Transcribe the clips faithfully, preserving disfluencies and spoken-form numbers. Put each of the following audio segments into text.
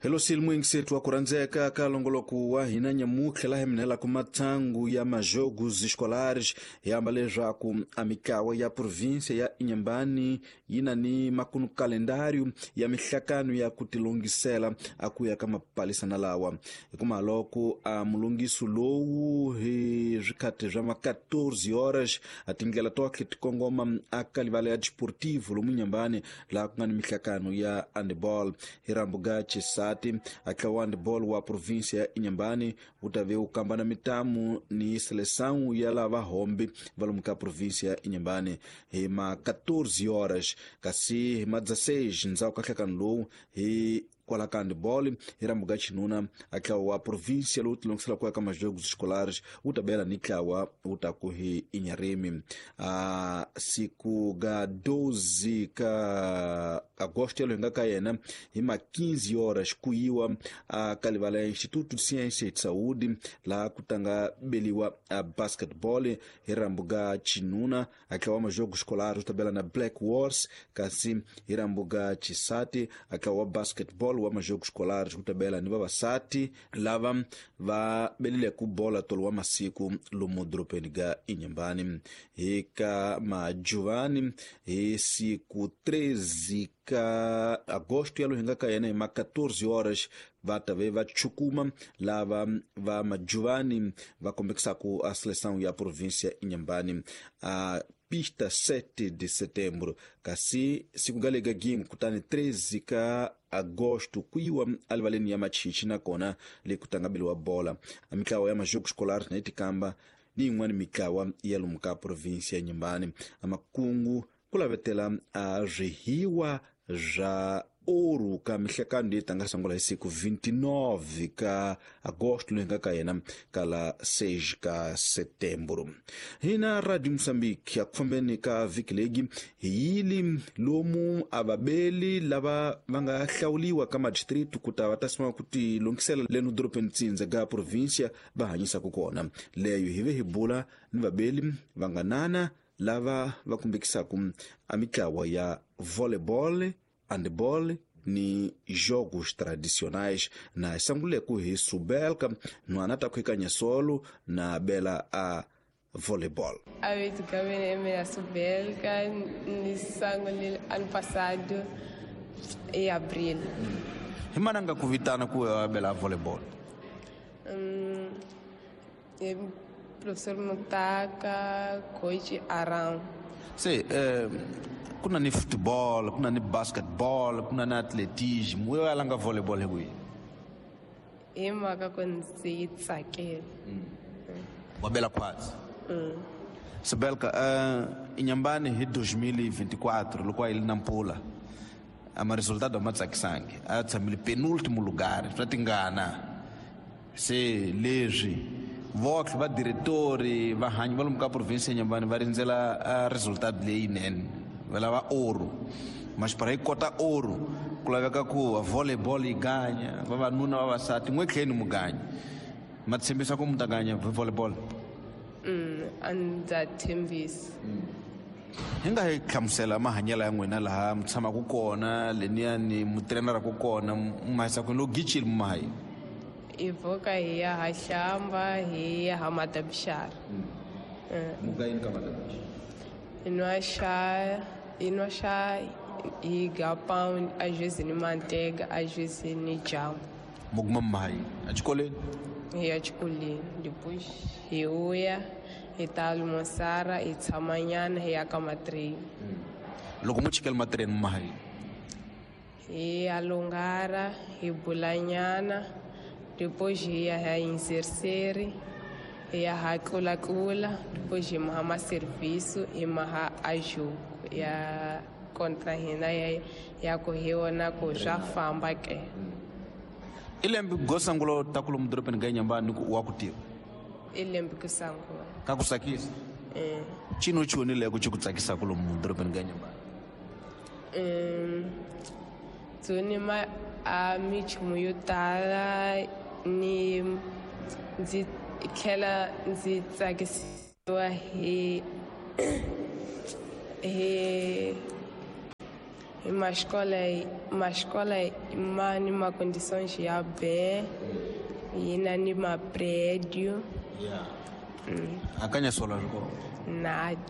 Hello silmu wa kurandzeka ka longoloko wa hina nyamutlha laha minhela ku matsangu ya majogos escolares hi amba leswaku a mitlawa ya província ya Inhambane yi na ni makunu kalendário ya mihlakano ya ku tilongisela a ku ya ka mapalisana lawa hikuma loko a mulongiso lowu hi swikhati swa ma quatorze horas a tindlela tohle ti kongoma a ka livala ya desportivo lomu Inhambane laha ku nga ni mihlakano ya handball hi rambuga chisati a tlawa handball wa província ya Inhambane wu ta ve wu kamba na mitamu ni seleção ya lava hombe va lomu ka província ya Inhambane hi ma quatorze horas kasi hi ma dezesseis ndzhaku ka nhlekano lowu hi kwala ka handball hi rambuga xinuna a tlawa wa província lowu tilongisela ku ya ka majogos escolares wu ta bela ni tlawa wu ta ku hi Inharime a siku ga doze ka agosto yalo hi nga ka yena hi ma quinze horas ku yiwa a ka livala ya Instituto de Ciência e de Saúde laha ku tanga beliwa a basketball hi rambuga xinuna a tlawa majogos escolares wu ta bela na Black Wars kasi hi rambuga xisati a tlawa basketball wa majogos escolares wu ta bela ni vavasati lava va belile ku bola tolo wa masiku lomu dorobeni ga Inhambane hi ka majuvani hi siku treze ka agosto yalo hi nga ka yena hi ma quatorze horas va ta ve va chukuma lava va majuvani va kombekisaku a seleção ya província Inhambane a pista sete de setembro kasi siku galega gingu kutani treze ka agosto kuyiwa alivaleni ya machichi nakona le kutangabeliwa bola a mitlawa ya majogos escolares na itikamba ni yin'wana mitlawa ya lomu ka província ya Inhambane a makungu ku lavetela a swihiwa swa ouro ka mihlekano leyi tanga sungula hi siku vinte e nove ka agosto loyi nga ka yena ka la seis ka setembro. Hina Radio Moçambique ya ku fambeni ka vhiki legi hi yili lomu a vabeli lava va nga hlawuliwa ka madistrito ku ta va ta sima ku ti longisela leno dorobeni tsindza ga província va hanyisaka kona leyo hi ve hi bula ni vabeli va nga nana lava va kumbekisaka a mitlawa ya volleyball, handball ni jogos tradicionais na sanguleku hi Subelka nwana ta khwekanya solo na bela a volleyball. A vez que eu me Subelka ni sangule ano passado em abril. Hi mananga ku vitana ku bela volleyball. Hum, professor Mutaka, coach Aram. Se, eh, kuna ni football, kuna ni basketball, kuna ni atletismo, wewe alanga volleyball hebu. E maka konzi tsakela. Wabela kwazi. Mm. Sabelka, uh, Inhambane hi dois mil e vinte e quatro, loko a ili Nampula. Ama resultado ma tsakisangi. A tshamile penúltimo lugar, swa tingana. Se leswi vox va diretori va hanyi va lomu ka província ya Inhambane va rindzela a resultado leyinene va lava ouro mas para yi kota ouro ku laveka ku volleyball yi ganya vavanuna vavasati n'we tlheni mu ganya ma tshembisa ku mu ta ganya volleyball. Mm, a ndza tshembisa. Hi nga hi hlamusela mahanyelo ya n'wina laha mi tshamaka kona leniyani mu treneraku kona mu mahisa kwini loko gichile mu mahayi. Hi pfuka hi ya ha hlamba hi ya ha madabixara. Muga yini ka madabixara? Hi nwa xa hi nwa xa hi ga pound a vezes ni manteiga a vezes ni jamu. Mu kuma mahayi exikolweni? Hi ya xikolweni depois hi vuya hi ta almoçar hi tshama nyana hi ya ka matreni. Loko mu chikela matreni mu mahayi? Hi ya lungara hi bula nyana depois hi ya ha inserseri hi ya ha tlulatlula depois hi maha maserviço hi maha a jogo ya contra hina ya ya ku hi wona ku swa famba ke. I lembe go sangulo ta ku lomu dorobeni ga Inhambane ku wa ku tiva? I lembe ku sangula. Ka ku tsakisa? Eh. Chino choni le ku chi ku tsakisa ku lomu dorobeni ga Inhambane? Um tsoni ma a minchumu yo tala ni ndzi tlhela ndzi tsakisiwa hi hi Uma escola, uma escola ma ni ma condições ya bem, e na ni ma prédio. Yeah. Mm. Akanya sola joko. Nada.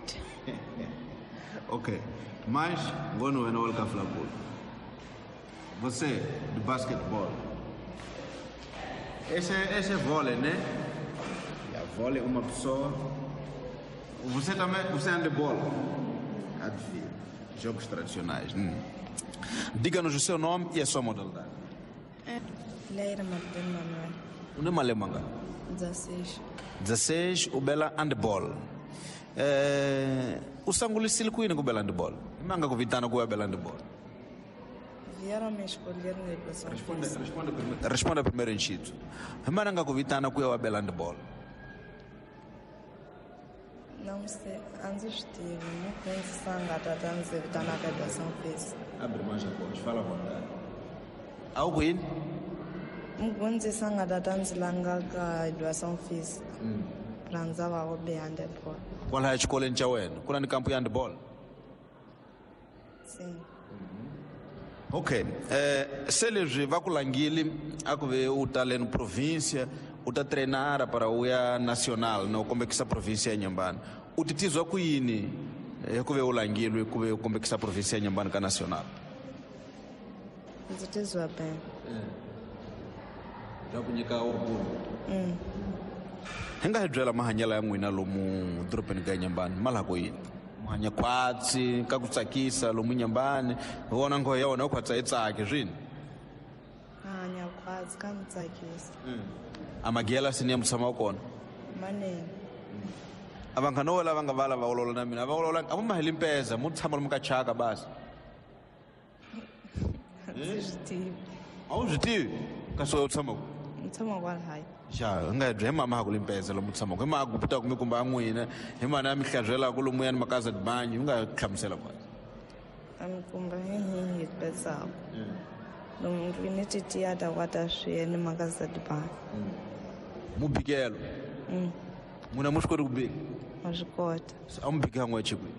Ok. Mas ngono wena wa ka flabol. Você do basquetebol. Esse esse é vôlei, né? E a vôlei uma pessoa. Você também, você anda de bola. Adivinha. Jogos tradicionais. Hum. Diga-nos o seu nome e a sua modalidade. Leira Martin Manuel. O nome é Manga? dezesseis. dezesseis, o Bela handball. É, o sangulisilo kuini com o Bela handball. Manga com vitana com o Bela handball. Vieram me escolher na educação. Responda, responda primeiro. Responda primeiro enchido. Manga com vitana com o Bela handball. Não sei, antes estive, não penso sanga tratando de evitar na educação física. Abre mais a voz, fala à vontade. Algo aí? Mgunzi sanga tratando de langa a educação física. Pranzava o bem handball. Qual é a escola em Chauén? Qual é o campo de handball? Sim. Ok. Eh, se eles vão com Languile, a ver o talento província, o tá treinar para o nacional, não como é que essa província é Inhambane. O titizo kuini, é que o Languile, como é que essa província é Inhambane ka nacional. O titizo é bem. Já kunhika orgulho. Hum. Henga hedzela mahanyela ya n'wina lomu dorobeni ka Inhambane, malako yini? Muhanya khwatsi, ka ku tsakisa lomu Inhambane, vona nghohe ya wena u khwatsa yi tsaki swini. Hanya khwatsi ka mi tsakisa. Amagela sini ya mutshama wa kona. Manene. A vanghana vo lava nga vala va olola na mina, a va olola a mu maheli mpeza, mu tshama lomu ka chaka basi. Ndzi swi tivi. A wu swi tivi? Kasi u tshama ku? Ni tshama kwalahayi. Xa, hi nga hi mama ha ku limpeza lomu tshamaka, hi mama ku putaka mi kumba n'wina, hi mana ya mi hlabyelaka lomu yani makaza dibanyi, u nga hlamusela kwala. A mi kumba hi hi hi pezaka. Lomu ni titiya ta kwata swi ni makaza dibanyi. Mubikelo. Mm. N'wina mu swi koti ku bika? Ma swi kota. A mu bika n'we chikwi?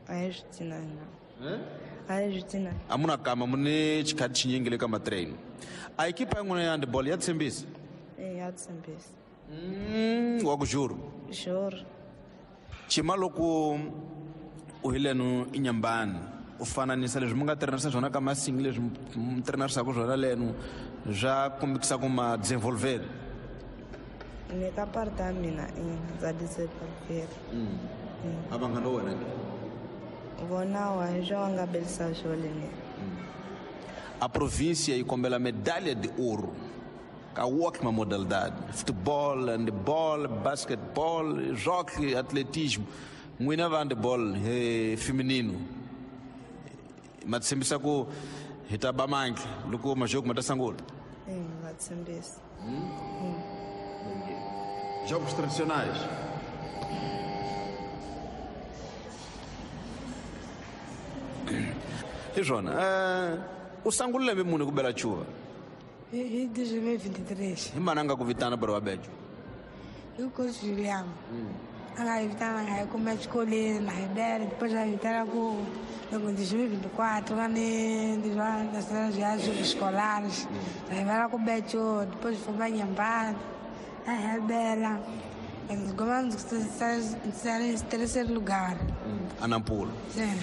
A hi swi tinanga. A hi swi tinanga. A mu na kama mu ni xikhati xinyingi le ka matrain. A ekipa ya n'wina ya handball ya tshembisa? E ya tshembisa. Mm, wa ku juro. Juro. Chima loko u hi leno Inhambane, u fananisa leswi mi nga treinarisa swona ka masingi leswi mi treinarisaka swona leno swa kombekisa ku ma desenvolver. Ni ka parte ya mina ina ndza desenvolver. Mm. A vanghana wena ke? Vona wa hi swo nga belisa swona ni. A província yi kombela medalha de ouro ka ótima modalidade, futebol, handebol, basquetebol, jockey, atletismo. N'wina va handebol eh, feminino. Ma tshembisa ku hi ta ba mantle loko majoko ma ta sungula. Eh, va tshembisa. Mm. Mm. Jogos tradicionais. E Jona, eh, u sangula lembe muni ku bela chuva? Hi dois mil e vinte e três. Hi mana nga ku vitana para wa bejo? I coach Juliano. A nga hi vitana nga hi kuma exikolweni na hi bela, depois a hi vitana ku loko dois mil e vinte e quatro va ni nacional viagens escolares. A hi vela ku bejo, depois fomos Inhambane, a hi bela. Ndzi sala em terceiro lugar. A Nampula. Sim.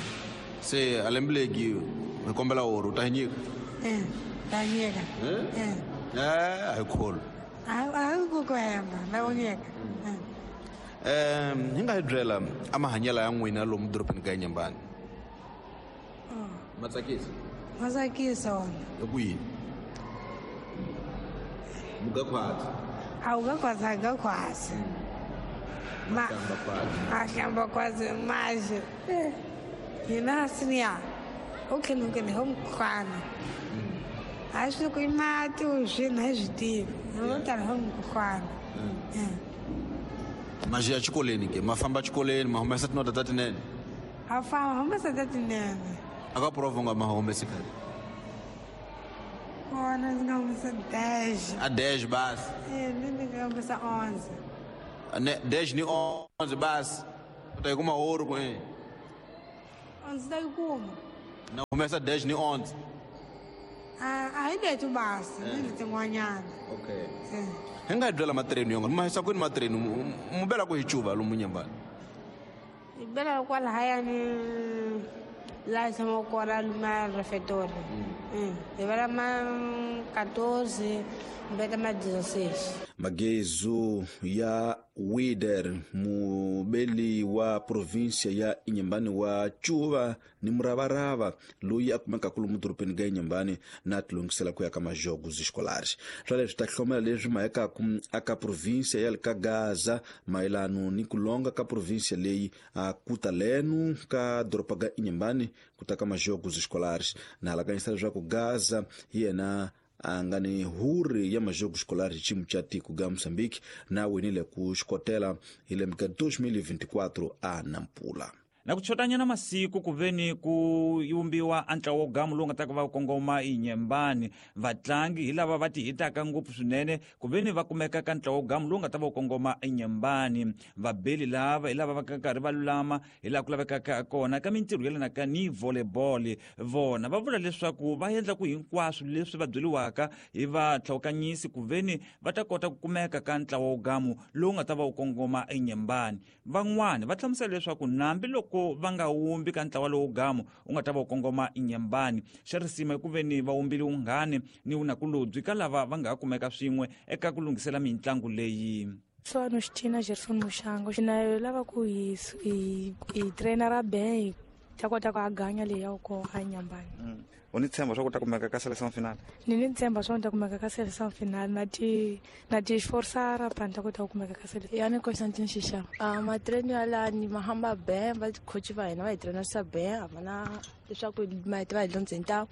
Se a lembe legi hi kombela ouro, ta hi nyika? É. Ta nyika. Eh? Eh, a hi kholo. A hi ku ku hemba, na ku nyika. Eh, hi nga hi byela a mahanyelo ya n'wina lomu dorobeni ka Inhambane. Ma tsakisa? Ma tsakisa wona. Hi ku yini? Muga khwatsi. A wu ga khwatsi, a ga khwatsi. Ma a hlamba khwatsi maji. Hina siniya. Okay, no ke home khwana. A swi ku i mati u swi na hi swi tivi. No tala home khwana. Maji ya xikolweni ke, ma famba xikolweni, ma humesa tinota ta tinene? A famba, humesa ta tinene. A ka prova nga ma humesi khale? Kona ndzi nga humesa dez. A dez basi? E, ni ni nga humesa onze. Ne, dez ni onze basi. U ta yi kuma ouro ku e? Onze ta yi kuma. Na humesa dez ni onze. A a hi leto basa, ni letin'wanyana. Okay. Hi nga byela matreni yonga, ma hisa kwini matreni, mu bela ku hi cuva lomu Nyembani. Hi bela kwalahayani laha hi tshamaka kona luma refectory. Hi bela ma quatorze, beta ma dezesseis. Magezu ya Wider, mubeli wa província ya Inhambane wa Cuva ni muravarava loyi a kumekaka lomu dorobeni ga Inhambane na tilungisela ku ya ka majogos escolares. Swa leswi ta hlomela leswi mahekaku aka província ya le ka Gaza mayelano ni ku longa ka província leyi a kuta leno ka doroba ga Inhambane ku ta ka majogos escolares. Na halakanyisa leswaku Gaza hi yena a nga ni huri ya majogo escolar xiyimo xa tiko ga Moçambique na winile ku xikotela hi lembe ka dois mil e vinte e quatro a Nampula. Na ku chotanyana masiku ku veni ku yumbiwa a ntlawa wo gamu lowu nga ta ku va kongoma Inhambane. Vatlangi hi lava va ti hitaka ngopfu swinene ku veni va kumeka ka ntlawa wo gamu lowu nga ta va kongoma Inhambane. Vabeli lava hi lava va karhi va lulama hi laha ku lavekaka kona ka mintirho yelanaka ni volleyball. Vona va vula leswaku va endla ku hinkwaswo leswi va byeriwaka hi vatlhawukanyisi ku veni va ta kota ku kumeka ka ntlawa wo gamu lowu nga ta va wu kongoma Inhambane. Van'wani va hlamusela leswaku nambi loko va nga wumbi ka ntlawa lowu gamu u nga ta va u kongoma Inhambane, xa risima hi ku veni va wumbile vunghani ni vunakulobye ka lava va nga ha kumeka swin'we eka ku lunghisela mitlangu leyi. Swano Xitina Gerson Muxango xina lava ku hi hi hi trainer ben ta kota ku aganya leyi ya ko a Inhambane. U ni tshemba swa ku ta kumeka ka seleção final? Ni ni tshemba swa ku ta kumeka ka seleção final na ti na ti forçar pa ta kota ku kumeka ka seleção. Ya ni Constantine Xixava. A matreni ya la ni mahamba ben va coach va hina va hi trainer sa ben a va na leswaku ma va hi londzeni ta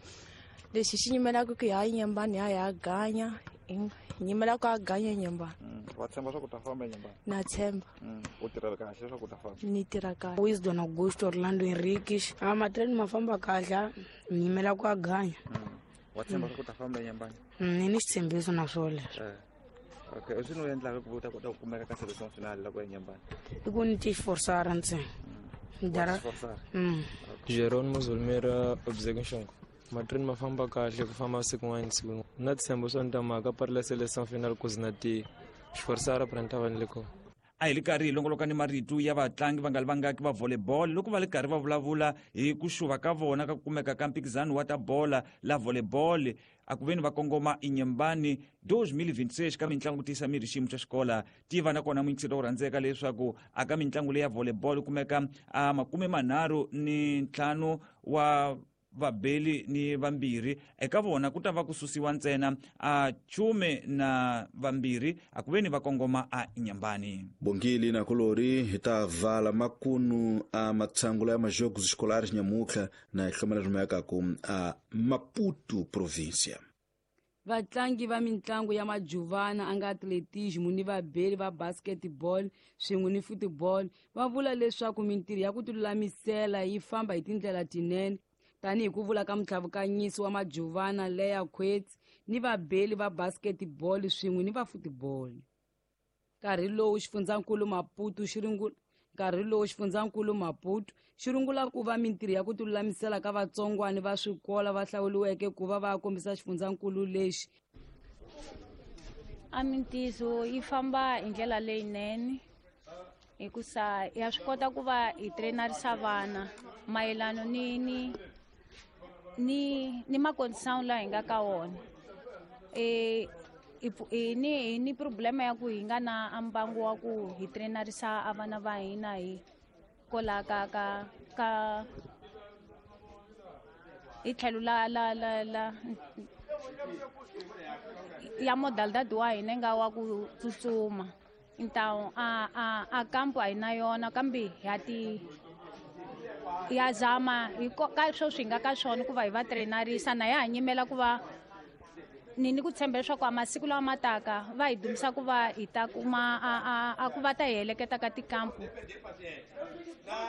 lexi xi nyimelaka ku ya Inhambane ya ya ganya hi nyimela ku a ganya Inhambane. Wa tshemba swa ku ta famba Inhambane? Na tshemba. U tirha kahle leswaku u ta famba? Ni tirha kahle. Wisdom Augusto Orlando Henriques. A matreni ma famba kahle, ni nyimela ku a ganya. Wa tshemba swa ku ta famba Inhambane? Ni ni xitshembiso na swona leswo. Okay, u swi no endlaka ku ta kota ku kumeka ka seleção final loko ya Inhambane? I ku ni ti forçar ntsena. Dara. Jerônimo Zulmira Obzegunshongo. Matreni ma famba kahle ku famba siku n'wana siku. Na tshembo swa ni ta mhaka pari la seleção final ku zina ti xiforsara pra ni ta va ni le kona. A hi li karhi hi longoloka ni marito ya vatlangi va nga li vangaki va volleyball loko va li karhi va vulavula hi ku xuva ka vona ka ku kumeka ka mphikizano wa ta bola la volleyball a ku veni va kongoma Inhambane dois mil e vinte e seis ka mitlangu ku tiyisa miri xiyimo xa xikola. Tiva na kona muyingiseri wo rhandzeka leswaku a ka mitlangu leyi ya volleyball kumeka a makume manharhu ni ntlhanu wa vabeli ni vambirhi eka vona ku ta va ku susiwa ntsena a chume na vambirhi a ku veni va kongoma a Inhambane. Bongile na kolori hi ta vala makunu a matshangulo ya majogos escolares nyamutlha na hi hlomela rimekaka a Maputo província. Vatlangi va mitlangu ya majuvana a nga atletismo ni vabeli va basketball swin'we ni football va vula leswaku mintirho ya ku tilulamisela yi famba hi tindlela tinene tanihi ku vula ka mutlhavukanyisi wa majuvana Leya Quets ni vabeli va basketball swin'we ni va football. Nkarhi lowu xifundzankulu Maputo xi ringula nkarhi lowu xifundzankulu Maputo xi rungula ku va mintirho ya ku tilulamisela ka vatsongwani va swikola va hlawuriweke ku va va kombisa xifundzankulu lexi. A mintirho yi famba hi ndlela leyinene hikusa ya swi kota ku va hi trainarisa vana mayelano ni ni ni ni makondition laha hi nga ka wona. E ni ni problema ya ku hi nga na mbangu wa ku hi trainarisa a vana va hina hi kola ka ka ka hi tlhelo la la la la ya modalidade wa hina nga wa ku tsutsuma. Então a a a kampo a hi na yona kambe ya ti ya zama hi ka sweswi hi nga ka swona ku va hi va trainarisa na ya ha nyimela ku va ni ni ku tshemba leswaku a masiku lawa ma taka va hi dumisa ku va hi ta kuma a a a ku va ta hi heleketa ka tikampu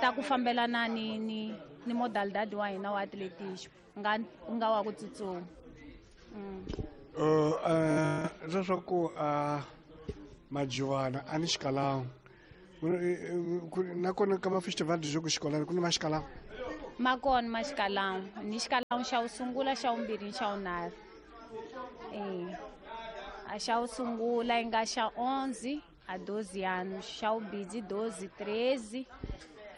ta ku fambelana ni ni ni modalidade wa hina wa atletismo nga nga wa ku tsutsuma. Uh leswaku a majuvana a ni xikalawu nakona ka mafestival de jogo escolar ku ni maxikalawu. Ma kona ma xikalawu ni xikalawu xa wu sungula, xa vumbirhi ni xa vunharhu. Eh a xa wu sungula yi nga xa onze a doze anos, xa vumbirhi doze, treze,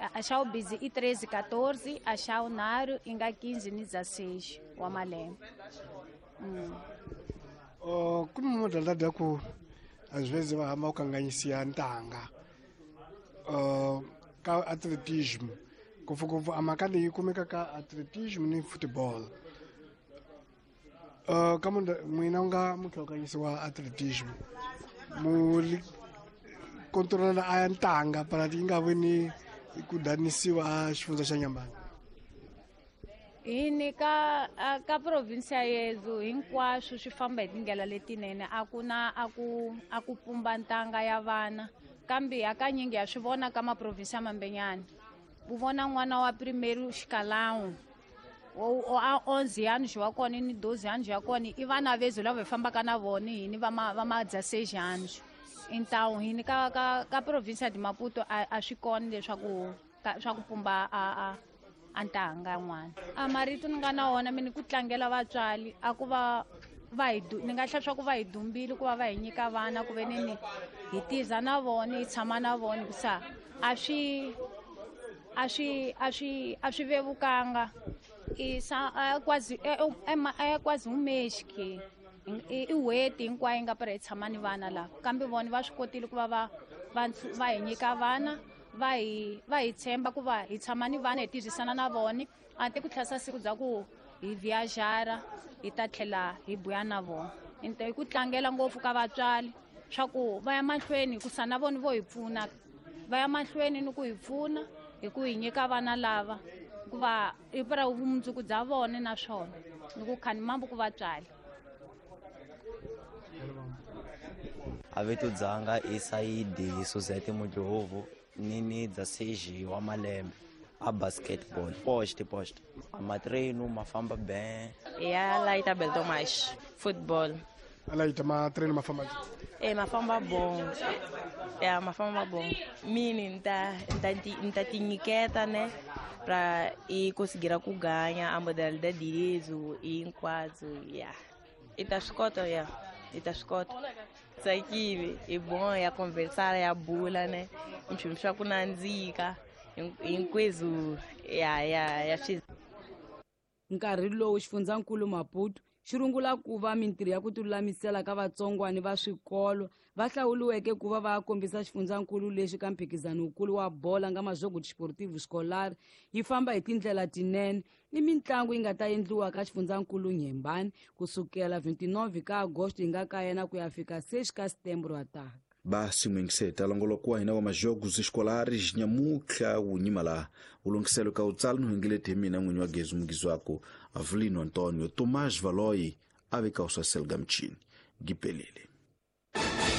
a xa vumbirhi i treze, quatorze, a xa vunharhu yi nga quinze ni dezesseis wa malembe. Mm. Oh, ku ni modalidade ya ku às vezes va hamba ku kanganyisiwa ntanga uh, ka atletismo, ngopfungopfu a mhaka leyi kumeka ka atletismo ni football. Uh, ka n'wina u nga muhlokanyisi wa atletismo, mu controla a ya ntanga para yi nga vi ni ku danisiwa a xifundza xa Nyambani? Hi ni ka ka province ya yezu hinkwaswo swi famba hi tindlela letinene, a ku na a ku a ku pumba ntanga ya vana, kambe hakanyingi ya swi vona ka maprovinsi ya mambenyana. U vona n'wana wa primeiro xikalawu a onze anos wa kona ni doze anos ya kona, i vana vezu lava hi fambaka na vona hini va ma va ma dezesseis anos. Então hini ka ka ka province de Maputo a, a swi kona leswaku swa ku pumba a a a ntanga n'wana. A marito ni nga na wona mina ku tlangela vatswari a ku va va hi ni nga hlaya swa ku va hi dumbile ku va va hi nyika vana ku ve ni hi tiza na vona hi tshama na vona, hikusa a swi a swi a swi a swi vevukanga. I sa a quase é é quase um mês que i n'hweti hinkwayo yi nga para hi tshama ni vana lava, kambe vona va swi kotile ku va va va va hi nyika vana, va hi va hi tshemba ku va hi tshama ni vana hi tirhisana na vona, a ti ku tlhasa siku bya ku hi viajara hi ta tlhela hi buya na vona. Hi ku tlangela ngopfu ka vatswari swa ku va ya mahlweni hikusa na vona vo hi pfuna, va ya mahlweni ni ku hi pfuna hi ku hi nyika vana lava hikuva i para vumundzuku bya vona naswona ni ku khani mambo ku vatswari. A vito dzanga i Saidi Suzette Mudlovu, ni ni dezesseis wa malembe a basketball post post a matreino ma famba bem. Ya Laita Beltomas football. A Laita matreino ma famba e ma famba bom, ya ma famba bom mini nta nta nta tinyiketa né pra e conseguir ku ganha a modalidade direito e hinkwaswo ya e ta swi kota ya e ta swi kota tsakile i bom ya conversar ya bula né nchumu swa ku nandzika hinkweswo ya ya ya swi. Nkarhi lowu xifundzankulu Maputo xi rungula ku va mintirho ya ku tilulamisela ka vatsongwani va swikolo va hlawuriweke ku va va kombisa xifundzankulu lexi ka mphikizano wukulu wa bola nga Majogo Desportivo Escolar yi famba hi tindlela tinene ni mitlangu yi nga ta endliwa ka xifundzankulu Nyembani kusukela vinte e nove ka Agosto yi nga ka yena ku ya fika seis ka Setembro ataka. Basi mwingiseta longoloko wa hina wa majogos escolares nyamutlha wu nyima laha wu lunghiselo ka wutsala ni hwengeleti hi mina n'winyi wa gezi mugizi wako Avelino Antonio Tomás Valoi a veka u swa selga mchini gipelele.